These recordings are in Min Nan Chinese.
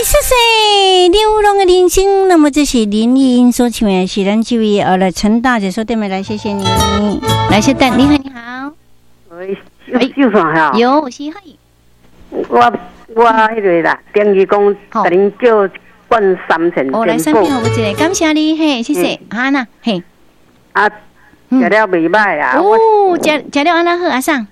謝謝流浪的人生。那麼這是林憶英所唱的，是咱這位來陳大姐所點的，來謝謝你。來，小等，你好，你好。喂，有線哈？有，是嘿。我彼個啦，等於講，共恁叫罐三層。哦，來三片好，一個，感謝你，嘿，謝謝，哈那，嘿。啊，食了袂䆀啊。哦，食了按怎好，阿桑？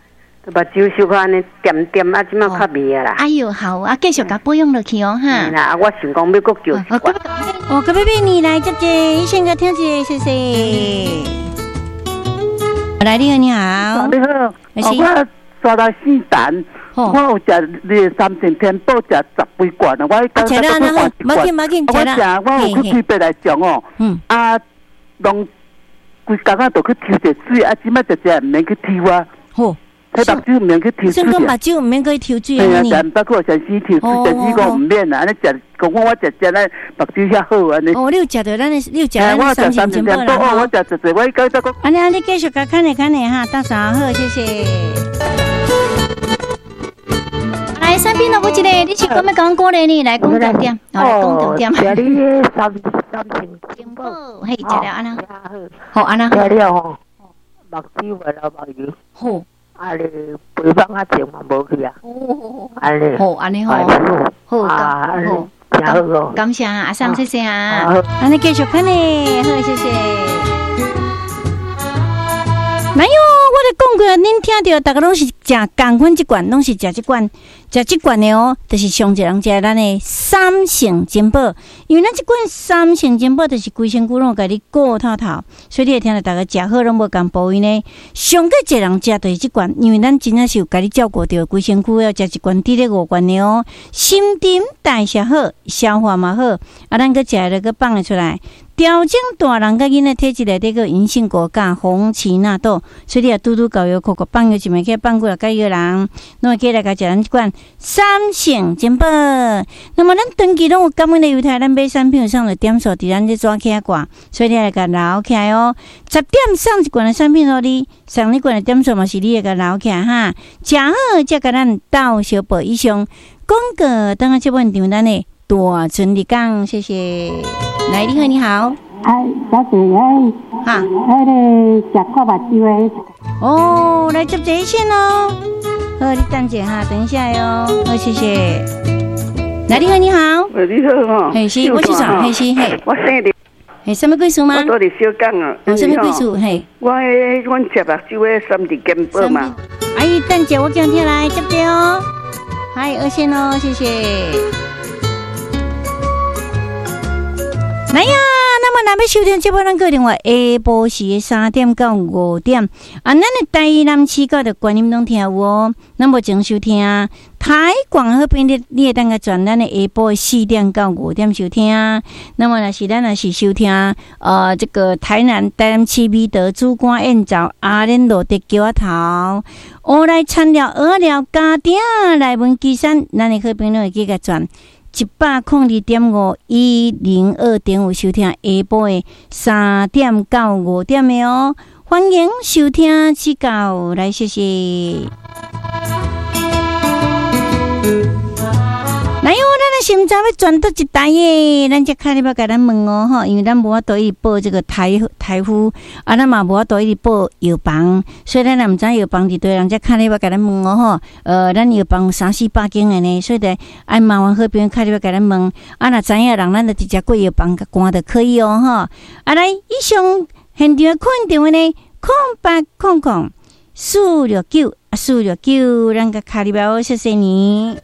目睭小可按呢恬恬啊，這馬較袂啊啦。哎喲，好啊，繼續共保養落去哦，哈。啦，我想講欲閣叫一罐。哦，閣欲欲你來接者，先共聽一下，謝謝。來，你好，你好。你好。我煞來姓陳。我有食你的三聖天寶，食十幾罐啊！我剛才閣換一罐。我食，我有去推伯來上哦。啊，攏規工啊，都去抽一水，啊，這擺食食毋免去抽啊。好。彼目睭毋免去抽水。算講目睭毋免閣去抽水啊？嘿啊，毋捌去予先生抽水，先生講毋免啦，按呢食，講我食食咱目睭遐好按呢。哦，你有食著咱的，你有食咱三聖珍寶啦。哦，我食濟濟，我剛才講。按呢按呢，繼續共看咧看咧哈，大嫂好，謝謝。來，三邊都有一個，你是講欲講過來呢？來講重點，來講重點。食你彼三聖珍寶，嘿，食了按怎？好按怎？食了吼，目睭袂流目油。好。啊！你肥胖啊，症嘛無去啊。哦。按呢。好，按呢吼。好，啊，好，真好哦。感謝阿桑，謝謝啊。按呢繼續看呢，好，謝謝。來喲，我咧講過，恁聽著，逐家攏是食仝款這罐，攏是食這罐，食這罐的哦，就是上濟人食咱的三聖珍寶，因為咱這罐三聖珍寶就是規身軀攏有共你顧透透，所以你會聽著逐家食好攏無仝部位呢。上閣濟人食就是這罐，因為咱真正是有共你照顧著規身軀，要食一罐佇咧五罐的哦，新陳代謝好，消化嘛好，啊，咱閣食了閣放會出來。調整大人佮囡仔體質內底閣銀杏果佮紅芪納豆，所以你若拄拄夠藥，閣閣放藥一暝，去放過來佮藥人，攏會記來共食咱這罐三聖珍寶。那麼咱長期攏有感恩的猶太，咱買產品有送著點數佇咱這紙起掛，所以你來共留起來哦。10點送一罐的產品予你，送你罐的點數嘛是你會共留起來哈。食好才共咱鬥相報。以上廣告，等下這本場咱的大春日講，謝謝。來，你好，你好。哎，小姐，哎，哈，彼个食看目睭的。哦，來接熱線哦。好，你等一下哈，等一下喲。好，謝謝。來，你好，你好。喂，你好吼。嘿，是，我是啥？嘿，是嘿。我姓林。嘿，啥物貴姓嗎？我住佇小港啊。哦，啥物貴姓？嘿。我彼阮食目睭的三日健保嘛。阿姨，等下，我今聽來接者哦。嗨，二線哦，謝謝。來呀，那麼若欲收聽這部，咱閣另外下晡時的3點到5點啊，咱的台南市到著觀音攏聽有哦。咱目前收聽台廣好朋友，你會當共轉咱的下晡4點到5點收聽。那麼若是咱若是收聽這個台南市美德主官燕巢阿蓮路的橋仔頭，烏來田寮蚵仔寮家鼎內文旗山，咱的好朋友會記共轉102.5 102.5收聽下晡的3點到5點的哦，歡迎收聽指教來，謝謝。來喲，咱的是毋知欲轉佗一台的，咱才敲入來共咱問哦吼，因為咱無法度一直報這個台呼，啊，咱嘛無法度一直報藥房，所以咱也毋知藥房佇佗人才敲入來共咱問哦吼。咱藥房有三四百間的呢，所以得愛麻煩好朋友敲入來共咱問。啊，若知影人，咱就直接過藥房共關就可以哦吼。啊，來，以上現場的客人電話呢，0800 469 469，咱共敲入來哦，謝謝你。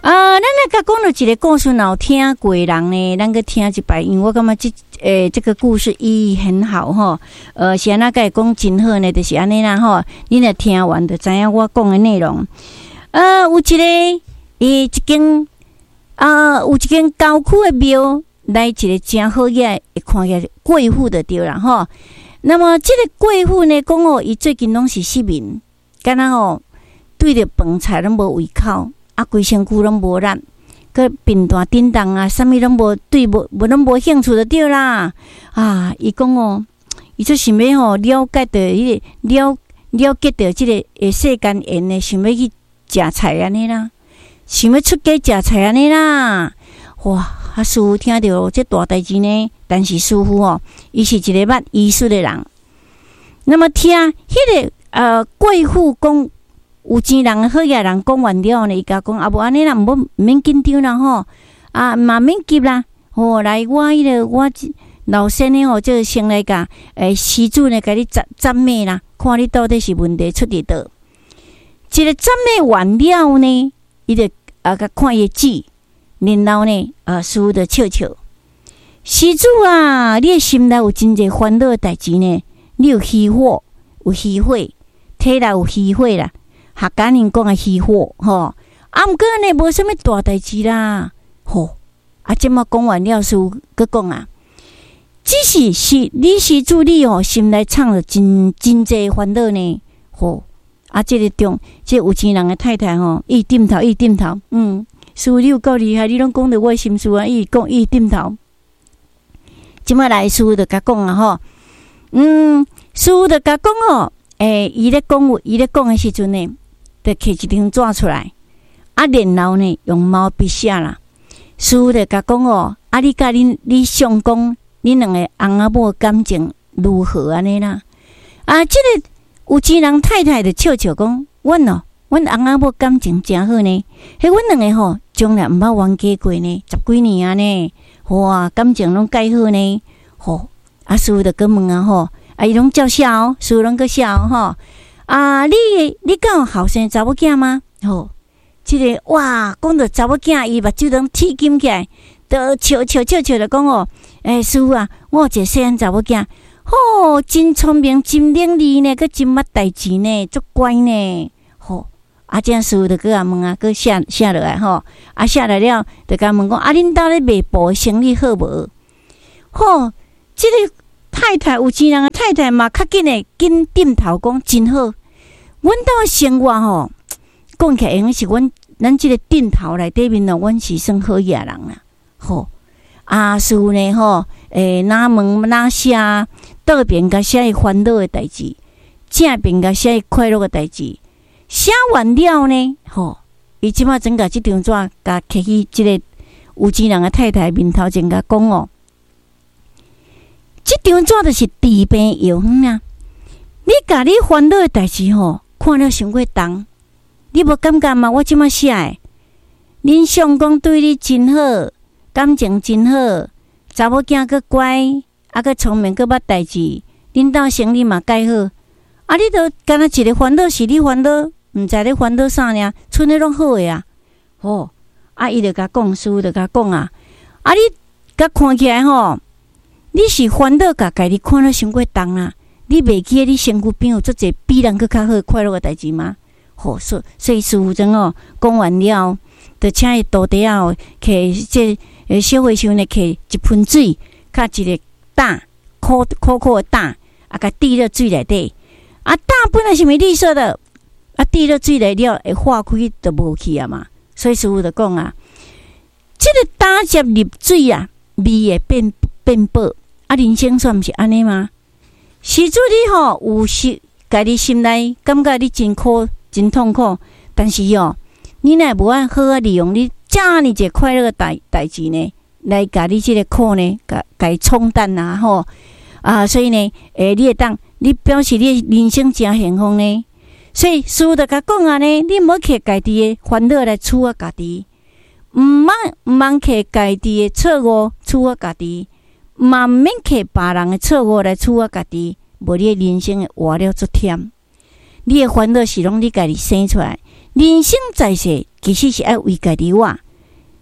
啊，咱來共講著一個故事，若有聽過人呢，咱閣聽一擺，因為我感覺這個故事意義很好吼。是按怎共會講真好呢？就是按呢啦吼。你若聽完就知影我講的內容。有一個，一間，啊，有一間郊區的廟，來一個誠好額，會看起來貴婦就對啦吼。那麼這個貴婦呢，講哦，伊最近攏是失眠，敢若吼對著飯菜攏無胃口。啊，規身軀攏無力，閣貧惰振動啊，啥物攏無對，無攏無興趣就對啦。啊，伊講哦，伊就想欲吼了解著彼個了了解著這個世間緣的，想欲去食菜按呢啦，想欲出家食菜按呢啦。哇！啊，師父聽著這大代誌呢，但是師父哦，伊是一个捌醫術的人。那麼聽彼個貴婦講有錢人好額人講完了呢，伊共講啊，無按呢啦，毋免緊張啦吼，啊嘛免急啦，吼，來我彼個我老先的吼，這個先來共施主呢，共你診診脈啦，看你到底是問題出佇佗。這個診脈完了呢，伊就啊共看伊的舌，然後呢，啊師父就笑笑。施主啊，你的心內有真濟煩惱的代誌呢，你有虛火，有虛火，體內有虛火啦。客家人講的虛火吼，啊，毋過呢，無啥物大代誌啦，吼。啊，這麼講完了，師父閣講啊，只是是你施主你哦，心內藏著真真濟煩惱呢，吼。啊，這個中，這個有錢人的太太吼，伊點頭，伊點頭，嗯，師父你有夠厲害，你攏講著我的心事啊，伊講伊點頭。這擺來師父就共講啊吼，嗯，師父就共講哦，欸，伊咧講，伊咧講的時陣呢，就摕一張紙出來，啊，然後呢，用毛筆寫啦。師父就共講哦，啊，你佮恁你相公，恁兩個翁仔某感情如何按呢啦？啊，這個有錢人太太就笑笑講，阮哦，阮翁仔某感情誠好呢，彼阮兩個吼，從來毋捌冤家過呢，十幾年啊呢，哇，感情攏蓋好呢，吼，啊，師父就閣問啊吼，啊，伊攏照寫哦，師父攏閣寫哦吼，啊，你你敢有後生查某囝嗎？吼，這個哇，講著查某囝，伊目睭攏鐵金起來，就笑笑笑笑就講哦，欸，師父啊，我有一個細漢查某囝，吼，真聰明，真伶俐呢，閣真捌代誌呢，足乖呢，吼。啊，這師父就閣共問啊，閣寫寫落來吼，啊，寫來了，就共問講，啊，恁兜咧賣布的生意好無？吼，這個太太有錢人的太太嘛，較緊的緊點頭講真好。阮兜的生活吼，講起來會用是阮咱這個鎮頭內底面哦，阮是算好額人啦。吼，啊，師父呢吼，欸，若問若寫，倒邊共寫伊煩惱的代誌，正邊共寫伊快樂的代誌。寫完了呢，吼，伊這擺轉共這張紙，共摕去這個有錢人的太太面頭前，共講哦，這張紙就是治病藥方啊！你共你煩惱的代誌吼，看了傷過重，你無感覺嗎？我這擺寫的，恁相公對你真好，感情真好，查某囝閣乖，啊閣聰明，閣捌代誌，恁兜生意嘛蓋好。啊！你都敢若一个煩惱是你煩惱，毋知咧煩惱啥爾，賰的攏好的啊！吼！啊，伊就共講，師父就共講啊！啊，你共看起來吼，你是煩惱共家己看了傷過重啦！你袂記得你身軀邊有足濟比人閣較好快樂的代誌嗎？吼！所所以師父陣哦，講完了，就請伊徒弟仔哦，摕這小和尚呢，摕一盆水，佮一个膽，苦苦苦的膽，啊，共滴落水內底。啊，膽本來是毋是綠色的，啊，滴落水內了會化開就無去啊嘛。所以師父就講啊，這個膽汁入水啊，味會變變薄。啊，人生煞毋是按呢嗎？施主你吼有時家己心內感覺你真苦真痛苦，但是哦，你若無愛好好利用你遮爾濟快樂的代代誌呢，來共你這個苦呢，共共伊沖淡啊吼啊，所以呢，欸，你會當。你表示你的人生誠幸福呢，所以師父就共講啊呢，你毋好摕家己的煩惱來處罰家己，毋通毋通摕家己的錯誤處罰家己，嘛毋免摕別人的錯誤來處罰家己，無你的人生會活了足忝。你的煩惱是攏你家己生出來。人生在世，其實是愛為家己活。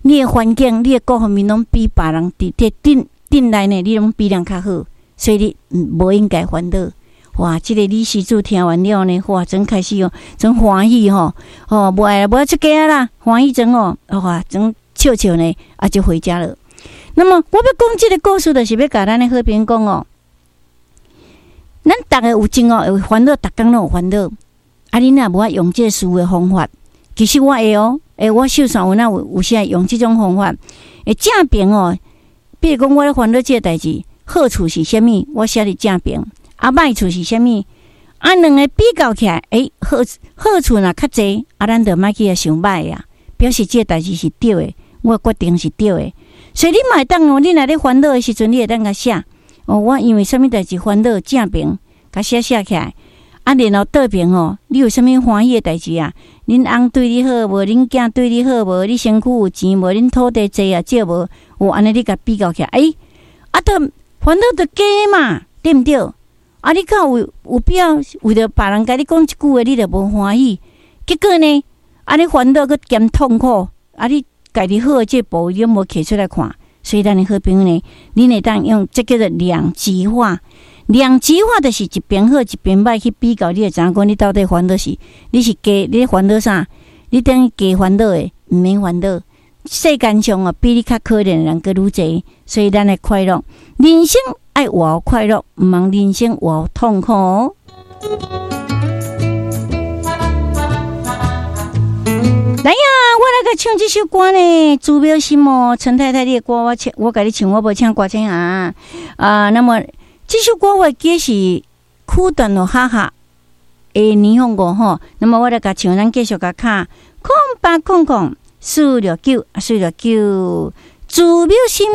你的環境、你的各方面攏比別人佇佇鎮鎮內呢，你攏比人較好，所以你無應該煩惱。哇！這個李施主聽完了呢，哇，真開始哦，真歡喜吼！哦，無愛無愛出家啦，歡喜真哦，哇，真笑笑呢，啊，就回家了。那麼，我欲講這個故事，就是欲共咱的好朋友講哦。咱逐个有情哦，會煩惱，逐工攏有煩惱。啊，你若無愛用這個思維方法，其實我會哦，欸，我手上有哪有有時會用這種方法。會正邊哦，比如講，我咧煩惱這個代誌，好處是啥物？我寫佇正邊。啊，歹處是啥物？啊，兩个比較起來，欸，好好處若較濟，啊，咱就莫去共想䆀啊，表示這个代誌是對的，我的決定是對的。所以你嘛會當哦，你若咧煩惱的時陣，你會當共寫哦，我因為啥物代誌煩惱，正爿共寫寫起來。啊，然後倒爿吼，你有啥物歡喜的代誌啊？恁翁對你好無？恁囝對你好無？你身軀有錢無？恁土地濟啊少無？有按呢你共比較起來，欸，啊，都煩惱就假嘛，對毋對？啊，你敢有必要為著別人共你講一句話，你就無歡喜？結果呢，按呢煩惱閣兼痛苦，啊，你家己好的這個部位你攏無提出來看，所以咱的好朋友呢，恁會當用這叫做兩極化。兩極化就是一邊好一邊䆀去比較，你會知影講你到底煩惱是，你是加你煩惱啥？你等於加煩惱的，毋免煩惱。世間上哦，比你較可憐的人閣愈濟，所以咱的快樂，人生愛活快樂，毋通人生活痛苦哦。來呀，我來共唱這首歌呢，朱妙心哦，陳太太，你的歌我唱，我共你唱，我無請歌星啊。啊，那麼這首歌我記是苦段哦，哈哈的年放過吼。那麼我來共唱，咱繼續共敲0800 469 469，朱妙心。